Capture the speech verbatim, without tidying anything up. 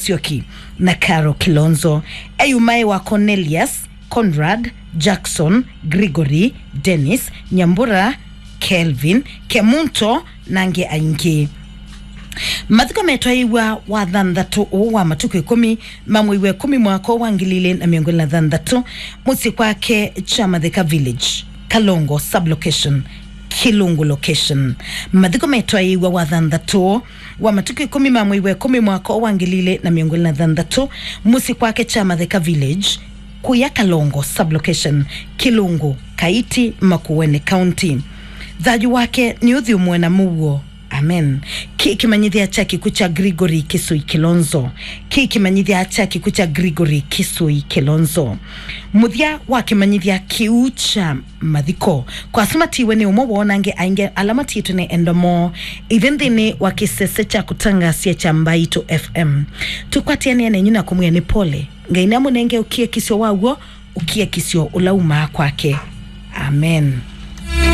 Musyoki na Caro Kilonzo. Eyumae wa Cornelius, Conrad, Jackson, Gregory, Dennis, Nyambura, Kelvin, Kemunto, na angĩ aingĩ. Mathiko metwaĩiw'a wathanthatũ ũũ wa matukũ ĩkũmi ma mwei wa ĩkũmi mwaka wa ngili ilĩ na mĩongo ĩlĩ na thanthatũ, mũsyĩ kwake Kyamatheka Village, Kalongo Sublocation, Kilungu Location. Mathiko metwaĩiw'a wathanthatũ wa matukũ ĩkũmi ma mwei wa ĩkũmi mwaka wa ngili ilĩ na mĩongo ĩlĩ na thanthatũ, mũsyĩ kwake Kyamatheka Village, kũya Kalongo Sublocation, Kilungu, Kaiti, Makueni County. Thayũ wake nĩ ũthyũmũe na mũuo. Amen. Kĩ kĩmanyĩthya kya kĩkw'ũ kya Gregory Kisui Kilonzo. Kĩ kĩmanyĩthya kya kĩkw'ũ kya Gregory Kisui Kilonzo. Mũthya wa kĩmanyĩthya kĩu kya mathiko. Kwa asu matiwe nĩ ũmwe woo na angĩ aingĩ ala matiĩtwe nĩ endwa moo. Ithyĩ nthĩnĩ wa kĩsese kya kũtangasya kya Mbaitũ F M, tũkwatĩanĩa nenyu na kũmwĩa nĩ pole. Ngai namũnenge ũkiakisyo wa w'o, ũkiakisyo ũla umaa kwake. Amen.